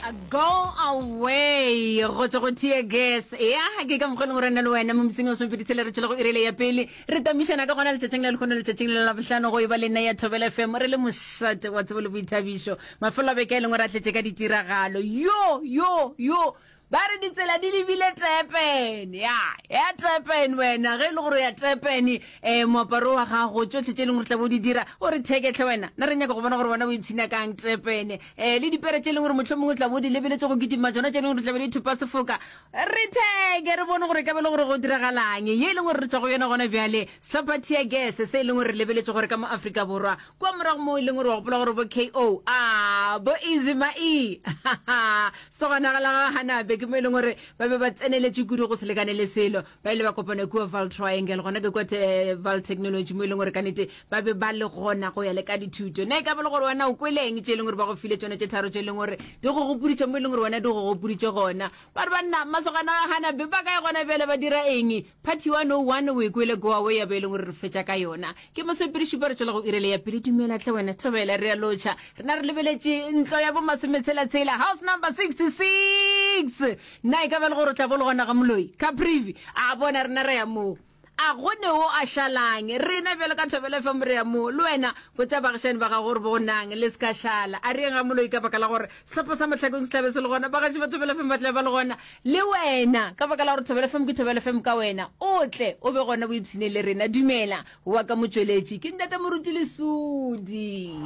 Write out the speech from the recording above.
Go away go tšwa go tear gas ya ke ka mokgwa e leng gore nna le wena mo mosing wa somepedi tshela re tšwela go irele ya pele re tamišana ka gona letšatšing la lehono letšatšing le la bohlano go e ba le nna ya thobela fm re le mošate wa tsebo le boithabišo mafelo a beke e leng gore a tletše ka ditiragalo yo yo yo Ba re ditsela di lebile Durban. Ya, ya Durban wena. Ge e le gore o ya Durban, eh, moaparo wa gago, tšohle tše e leng gore tla bo di dira, o re thekehle wena. Na re nyaka go bona gore wena o ipshina kang Durban. Eh, le dipere tše e leng gore mohlomongwe o tla bo di lebeletše go kitima tšona tše e leng gore tla be di thopa sefoka. Re theke, re bone gore e ka be e le gore go diragalang. Ye e leng gore re tšwa go yona gona bjale, sehlopha Tear Gas se e leng gore re lebeletše gore ka mo Afrika Borwa Kua morago moo e leng gore wa gopola gore bo KO, a bo Easy Ma E, sogana la ga Hanabe ke mo e leng gore ba be ba tseneletše kudu go se lekane le selo. Ba ile ba kopana kua Vaal Triangle, gona ke kua te, Vaal Technology mo e leng gore ka nete ba be ba le gona go ya le ka dithuto. Na e ka ba le gore wena o kweleng tše e leng gore ba go file tšona tše tharo tše e leng gore di go gopoditše mo e leng gore wena di go gopoditše gona? Ba re banna masogana a ga Hanabe ba kae gona bjale ba dira eng? Party 101 o e kwele go away ya be e leng gore re fetša ka yona. Ke masomepedi šupa re tšwela go irele ya pele. Dumela hle wena Thobela, re a lotšha. Rena re lebeletše ntlo ya bo masometshela-tshela, house number 66. Na e ka ba le gore o tla bo le gona ga moloi? Caprivi, a bona rena re ya moo. A go ne o a šalang? Rena bjalo ka Thobela FM re ya moo. Le wena botša baagišani ba gago gore bonang le se ka šala. A re yeng ga moloi ka baka la gore sehlopha sa Mahlakong se tla be se le gona. Bagaši ba Thobela FM ba tla be ba le gona. Le wena, ka baka la gore Thobela FM ke Thobela FM ka wena, o tle o be gona o ipshine le rena. Dumela, wa ka motšweletši, ke Ntate Moruti Lesodi.